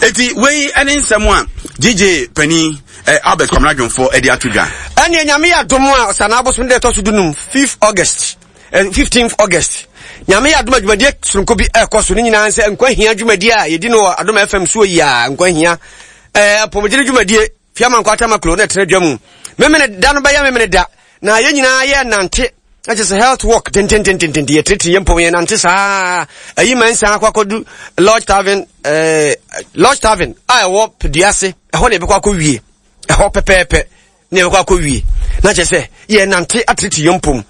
Eti wei ne nsɛm a GJ panin eh, Albert Kwamina Dwomfoɔ de ato dwa. Ɛneɛ Nyame yɛ adom a Ɔsanaa bosom da ɛtɔ so dunum, 5th August, 15th August, Nyame yɛ adom a dwumadie soronko bi ɛrekɔ so, ne nyinaa sɛ nkwa hia dwumadie a yɛdi no wɔ Adom FM soɔ yi a, nkwa hia eh, apɔmuden dwumadie, Fiama Nkwa Tamaklo na ɛtena dwa mu. Memene da no bɛyɛ memene da, na yɛn nyinaa yɛ nante na kyerɛ sɛ health work dendendendenden yɛtiritiri yɛn mpom yɛn nante saa ayi ma nsan akɔ akɔdu lodge tavern ɛɛ eh, lodge tavern a ɛwɔ peduase ɛhɔ na yɛbɛkɔ akɔ wie ɛhɔ pɛpɛɛpɛ na yɛbɛkɔ akɔ wie na kyerɛ sɛ yɛn nante atiritiri yɛn mpom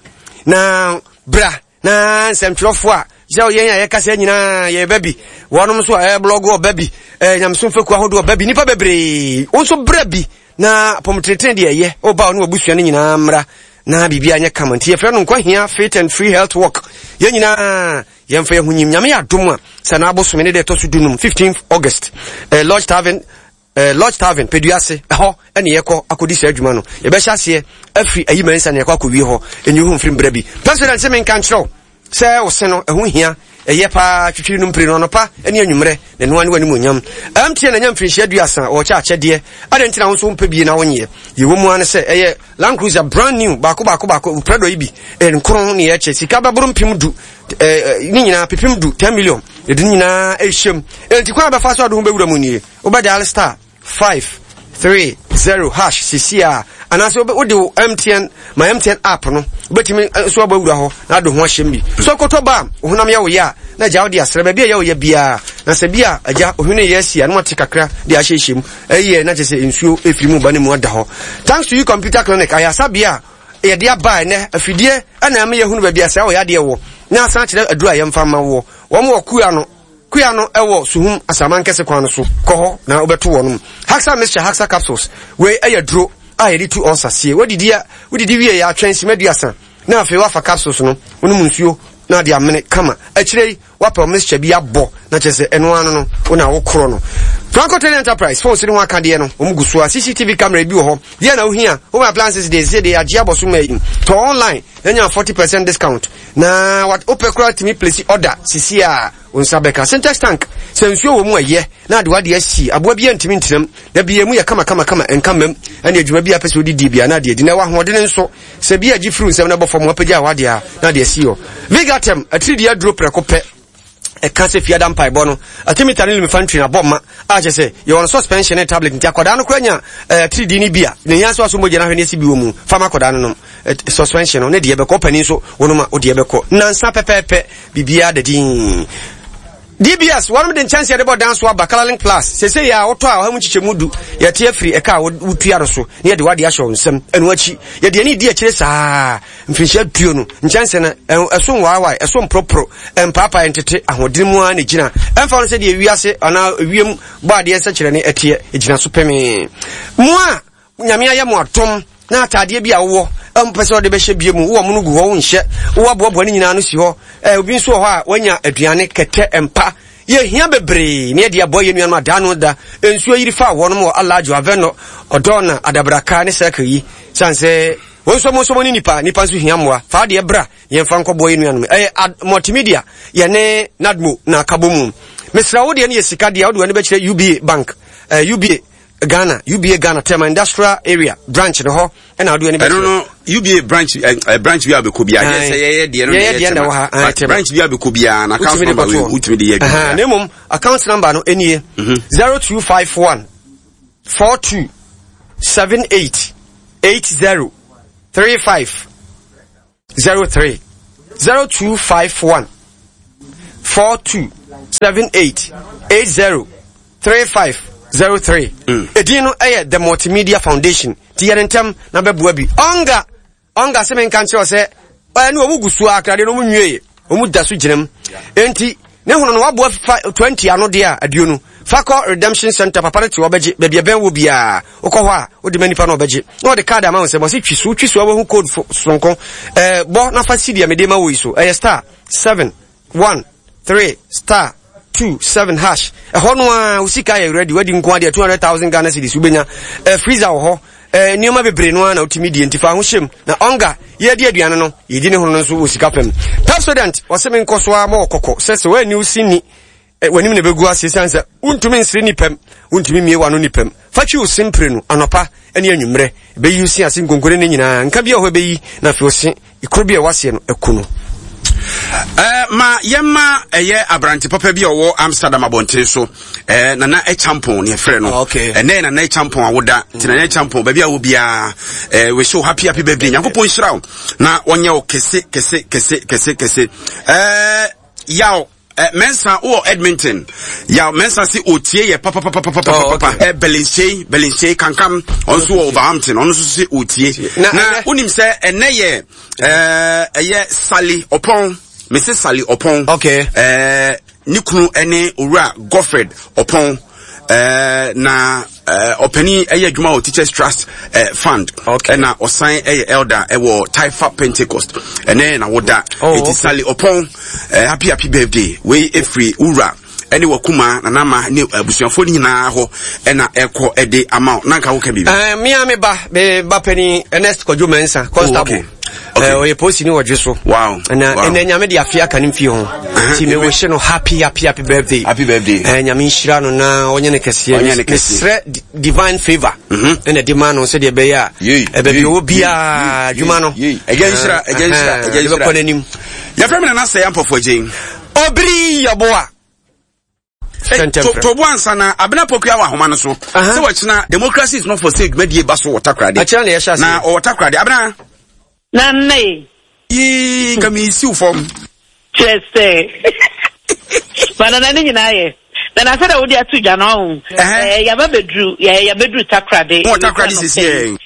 na bra na nsɛmtwerɛfoɔ a sɛ yɛn a yɛkasa nyinaa yɛba bi wɔnom nso a ɛblɔgo ɔba bi nyamesom fekuo ahodoɔ ɔba bi nnipa bebree wo nso bra bi na apɔmtenetene deɛ ɛyɛ woba wo ne wabusua no nyinaa mmra na biribi anyɛ kama nti yɛfrɛ no nkwa hia fit and free health work yɛn nyinaa yɛmfa yɛn ho nyim nyame yɛ adom a sɛ na abosome ne deɛ ɛtɔ so dunum 15 August eh, Lodge Tavern Eh, Lodge Tavern, Peduase, ɛhɔ ɛne yɛkɔ akɔdi saa adwuma no. Yɛbɛhyɛ aseɛ afiri ayi mansa ne yɛkɔ akɔwie hɔ. Ɛnyi ho mfiri mbrɛ bi. President sɛ menka nkyerɛ wo sɛ wo se no ɛho hia ɛyɛ paa twitwiri no mpire no anɔpa ne anwummerɛ na ɛnoa ne w'animuonyam. MTN anya mfirinhyia aduasa wɔkyɛ akyɛdeɛ adɛn nti na wo nso wompɛ bie na wonyɛ yɛwɔ mu ara ne sɛ ɛyɛ Land Cruiser brand new baako baako baako Prado yi bi nkron ne yɛkyɛ sika bɛboro mpem du ne nyinaa pepem du 10 million yɛde ne nyinaa ɛhyɛm enti kwan a bɛfa so ade ho bɛwura mu nie Wobɛ dial star 5 3 0 hash sisi a anaasɛ wode wo MTN my MTN app no wobɛtumi nso abɔ awura hɔ na ade ho ahyɛm bi so kɔtɔ ba a wo honam yɛ wo yɛ a na agya wode asrɛ baabi a ɛyɛ wo yɛ biara na sɛ bi a agya ohwene yɛ asi a na wate kakra de ahyehyɛ mu ɛyɛ na kyerɛ sɛ nsuo ɛfiri mu ba ne mu ada hɔ thanks to you computer clinic ayasabea a yɛde aba ɛnɛ afidie ɛna ɛma yɛhunu baabi a saa wɔ yadeɛ wɔ na asan kyerɛ aduru a yɛmfa ma woɔ wɔn wɔ kua no Kua no wɔ Suhum Asaman-Kɛse kwan no so. Kɔ hɔ na wobɛto wɔnom. Haxa Mixture Haxa Capsules, Wei yɛ aduro a yɛde tu ɔlsa sie. Woadidi a, wodidi wie a, twɛn simma aduasa na afei woafa capsules no, wonom nsuo na ade amene kama. Akyire yi, woapɛ wo mixture bi abɔ na kyerɛ sɛ ɛno ara no no, wo na wokorɔ no. Franco Trading Enterprise, phones ne ho akadeɛ no, wɔn gu so a. CCTV camera bi wɔ hɔ. Deɛ na wohia? Home appliances deɛ, sɛ deɛ yɛagye abɔ so ma yi. Tɔ online na nya 40% discount. Na wopɛ koraa tumi place order sisi a wo nsa bɛka. Sintex tank, sɛ nsuo wɔ mu a yɛ na ade wade asi, aboa biara ntumi ntenam. Da biara emu yɛ kama kama kama, ɛnka mmam. Ɛne adwuma bi a pɛ sɛ wode die biara na ade adi. Na ɛwɔ ahoɔdene nso, sɛ bi a gye firi nsam na ɛbɔ fam, wapagya wade a na ade asi hɔ. Vigatem, atiridii aduro prɛko pɛ. Ɛka sɛ fiada mpaebɔ no, atimita ne lumifantrin abɔ ma a kyerɛ sɛ yɛwɔ no suspension ne tablet nti akwadaa no koraa nya eh, atiridii no bi a ne hia sɛ waso mogya no ahwɛ ne asi bi wɔ mu fa ma akwadaa no nom eh, suspension no ne deɛ bɛkɔ ɔpanin nso wɔnom a wodeɛ bɛkɔ nansa pɛpɛɛpɛ biribiara da din DBS wɔnom de nkyɛnse yɛde bɔ dan so aba Colorlink Plus sese yɛ a wotɔ a ɔha mu nkyekyɛmu du yɛte afiri ɛka a wotua no so ne yɛde wade ahyɛ wo nsam ɛno akyi yɛde ani di akyire saa Mfirinhyia aduonu, nkyɛnse no, ɛso nwaawae, ɛso mporoporo, ɛmpaapae, ɛntete, ahoɔden mu ara na egyina. Ɛmfa ho sɛdeɛ wiase anaa ewiem bɔ adeɛ nsɛnkyerɛnne ɛteɛ, egyina so pemee. Mo a Nyame ayɛ mo adom na ataadeɛ bi a wowɔ a mpɛ sɛ ɔde bɛhyɛ bie mu, wowɔ mono gu hɔ, wonhyɛ, woaboaboa ne nyinaa no si hɔ. Ɛ, obi nso wɔ hɔ a wanya aduane, kɛtɛ, mpa. Yɛhia bebree na yɛde aboa yɛn nuanom a daa no da nsuo yiri faa wɔnom wɔ Alajo, Avɛnɔ, Ɔdɔɔna, Adabraka ne Circle yi. Sane sɛ Wo nso mo nso mo ne nipa, nipa nso hia mmoa. Fa adeɛ bra, yɛmfa nkɔboa yɛn nuanom. Ɛyɛ ad, multimedia, yɛne NADMO na aka bɔ mu. Mesrɛ wo deɛ no yɛ sika deɛ wode w'ani bɛkyerɛ UBA bank, eh, UBA Ghana, UBA Ghana, Tema Industrial Area branch no hɔ ɛna wode w'ani bɛkyerɛ. Ɛno no UBA branch eh, eh, branch bi a bɛkɔ biara yɛ sɛ yɛyɛ deɛ no na yɛyɛ deɛ na wɔ ha, Tema. But branch bi a bɛkɔ biara na account Wotumi de number wei kɔtoɔ. wotumi de yɛ adwuma. Ɛhɛn, Na mmom account number no nie 0251 42 78 80 35 03 0251 42 78 80 35 03. Edin no ɛyɛ The Multimedia Foundation. Ti yɛ ne ntɛm na bɛboa bi. Ɔnga ɔnga sɛ menka nkyerɛ sɛ ɛne wɔn gu so akradeɛ no wɔn nwie wɔn da so gyina mu. Enti Ne hono no waboa fa 20 ano deɛ a aduonu. Fa kɔ Redemption Center papa no te hɔ bɛgye baabi ɛbɛn wɔ biara. Wokɔ hɔ a wode ma nipa no ɔbɛgye. Na ɔde card ama wo nsam ɔse twi so wotwi so a wahu code soronko. Ɛɛ bɔ na fa si deɛ mede ma wo yi so. Ɛyɛ star 7 1 3 star 2 7 hash. Ɛhɔ no ara wo sika yɛ ready wadi nko adeɛ 200,000 Ghana cedis wobɛnya. Ɛɛ freezer wɔ hɔ. Eh, nneɛma bebree no ara na wotumi die nti fa ho hyɛm na ɔnga yɛdi aduane no yɛdi ne ho no nso wɔ sika fam. Pepsodent wɔse me nkɔ so ara ma ɔkɔkɔ sɛ sɛ woanni wo se ni eh, w'anim na ɛbɛgu ase ɛsiane sɛ wontumi nsere nipam wontumi mmie w'ano nipam. Fa twi wo se mprenu anɔpa ne anwummerɛ ɛbɛyi wo se ase nkonkone no nyinaa nka bi a hɔ ɛbɛyi na afei wo se Kuro bi a ɛwɔ aseɛ no aku no. Eh, ma yɛma ɛyɛ aberante papa bi a ɔwɔ Amsterdam abɔnten so eh, Nana Ɛkyampɔn ne ɛfrɛ no okay. ɛnɛ Nana Ɛkyampɔn awoda nti Nana Ɛkyampɔn baabi a wɔ biara eh, we show happy happy birthday Nyankopɔn nhyira wo na ɔnyɛ wo kɛse kɛse kɛse kɛse kɛse eh, yaw Eh, Mensah wɔ Edmonton. Ya Mensah si otie yɛ papapapapapa. Oh, okay. Eh, Belinsei, Belinsei kankam. Ɔno nso wɔ Overhampton. Ɔno nso si otie. Na, na wonim sɛ ɛnɛ yɛ eh, ɛyɛ Sally Ɔpɔn. Mese Sally Ɔpɔn. Okay. Eh, ne kunu ɛne Owura Godfred Ɔpɔn. Eh, na eh, ɔpanin ɛyɛ adwuma wɔ Teachers Trust eh, Fund ɛna okay. ɔsan ɛyɛ elder ɛwɔ Taifa Pentecost ɛnɛ na woda oh, eti okay. Sally Ɔpɔn eh, happy happy birthday wei efiri wura ɛne wakuma nanama ne abusuafoɔ no nyinaa hɔ ɛna ɛkɔ ɛde ama wo na nka woka biribi. Uh, mea me ba me ba panin Ernest Kwadwo Mensah constable. Oh, okay. Okay. Eh, ɔyɛ polisi ni wɔdwe so. Wow. Na wow. ɛnɛ nyame de afe aka ne mfie ho. Nti me wish no happy happy happy birthday. Happy birthday. Eh, nyame nhyira no na ɔnyɛ ne kɛseɛ. Ɔnyɛ ne kɛseɛ. Mesrɛ divine favor. Mhm. Ɛna de ma no sɛdeɛ ɛbɛyɛ a. Ɛbɛbi ɔwɔ biara adwuma no. Ɛgya nhyira, ɛgya nhyira, ɛgya nhyira. Ɛbɛkɔ n'anim. Yɛfrɛ me Nana Sɛɛ Ampɔfoɔ Agyen. Obiri Yeboah. Tobo ansa na Abena Pokuya wɔ ahoma no so. Sɛ wɔkyena democracy is not for sale dwumadie ba so wɔ Takoradi. Akyerɛ na yɛhyɛ ase. Na ɔwɔ Takoradi. Abena. Na nne. Yii nka mi siw fam. Kyerɛ sɛ. Banana ne nyinaa yɛ. Na na sɛ dɛ wode ato dwa no ɔho. Ɛɛ yaba bɛduru yɛabɛduru Takoradi. Wɔ Takoradi sisi yɛ.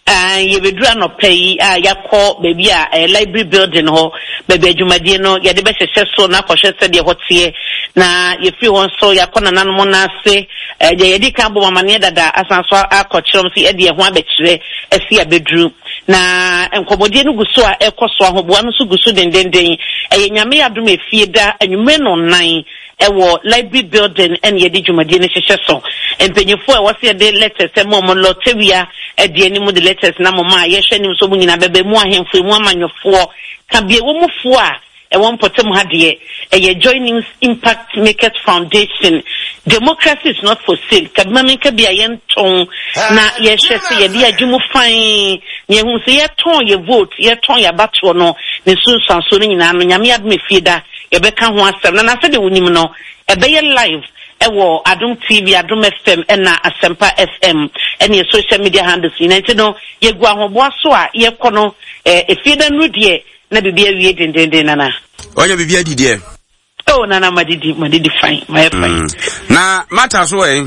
Aane, yɛbɛduru anɔpa yi a yɛakɔ baabi a ɛyɛ library building hɔ, baabi a dwumadie no yɛde bɛhyehyɛ so na akɔhwɛ sɛdeɛ ɛhɔ teɛ. Na yɛfiri hɔ nso yɛakɔ nananom no ase, deɛ yɛadi kan abɔ wɔn amaneɛ dada asan nso akɔkyerɛ wɔn sɛ yɛde yɛn ho abɛkyerɛ asi abɛduru. Na nkɔmmɔdie no gu so a ɛrekɔ so, ahoboa no nso gu so dendenden. Ɛyɛ Nyame adom a efie da anwummerɛ nnɔnnan Ɛwɔ Library Building na yɛde dwumadie no hyehyɛ so. Mpanyinfoɔ a ɛwɔ sɛ yɛde letters ma wɔn, Lɔtewia di anim de letters no ama wɔn a yɛhwɛ anim sɛ wɔn nyinaa bɛba, emu ahemfo, emu amanyɔfoɔ, ka bia ɛwɔ mu foɔ a ɛwɔ mpɔtam ha deɛ, ɛyɛ Joy News Impact Makers Foundation. Democracy is not for sale, ka bi ma menka bi a yɛntɔn na yɛhwɛ sɛ yɛde yɛn adwene mu fann na yɛhunu sɛ yɛtɔn yɛ vote, yɛtɔn yɛ abatoɔ no, ne nsunsuansoɔ no nyinaa no, Nyame adom efie da Yɛbɛka ho asɛm na na sɛdeɛ wonim no, ɛbɛyɛ live wɔ Adom TV, Adom FM ɛna Asɛmpa FM ɛne yɛ social media handles nyinaa. Nti no, yɛgu ahoboa so a yɛkɔ no eh, efie da nnuru deɛ na biribi awie dendenden nana. Wanya biribi adi deɛ? Oh nana, madidi, madidi fine, mayɛ fine. Na Martha so ɛ?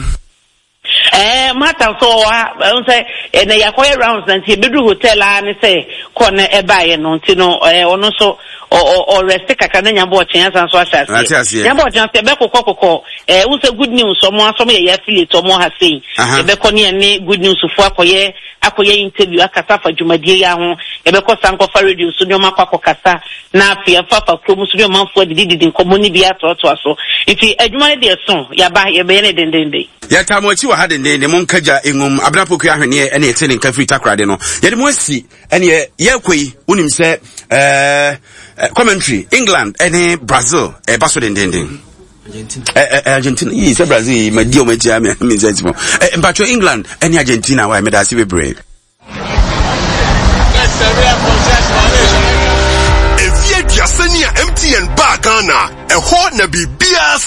Ɛɛ Martha nso ɔwɔ ha. Ɛhu sɛ ɛnɛ yɛakɔyɛ rounds na nti yɛbɛduru hotel ara ne sɛ kɔ no ɛbaeɛ no nti no ɛɛ ɔno nso ɔrɛste kakra na nyabɔ ɔkyɛn asan nso ahyɛ aseɛ. Nyabɔ ɔkyɛn nso yɛbɛkokɔ kokɔ ɛɛ wohu sɛ good news ɔmo aso ɔmo yɛ yɛ affiliate ɔmo ha sei. Yɛbɛkɔ ne yɛne good news foɔ akɔyɛ akɔyɛ interview akasa afa dwumadie yi ho. Yɛbɛkɔ san kɔfa radio so ne ɔmo akɔ akɔkasa na afei afa afa kurom so ne ɔmanfoɔ adidididi nkɔmmɔ ne bi atoatoa so. Nti adwuma no deɛ so yɛaba yɛbɛyɛ no dendenden. Yɛtaa mo akyi wɔ ha dendenden, monka gya ngum. Abena Poku Ahweneɛ ɛne ɛte ne nka firi Takoradi no. Yɛde mo asi ɛneɛ yɛrekɔ yi, wonim sɛ ɛɛ commentary England ɛne Brazil ɛba so dendenden. Argentina yi sɛ Brazil yi ma di ɔmo akyi a mi nsa ti mo. Mpatwɔ England ɛne Argentina wa meda ase bebree. Mfeɛ aduasa ni a MTN baa Ghana, ɛhɔ na biribiara.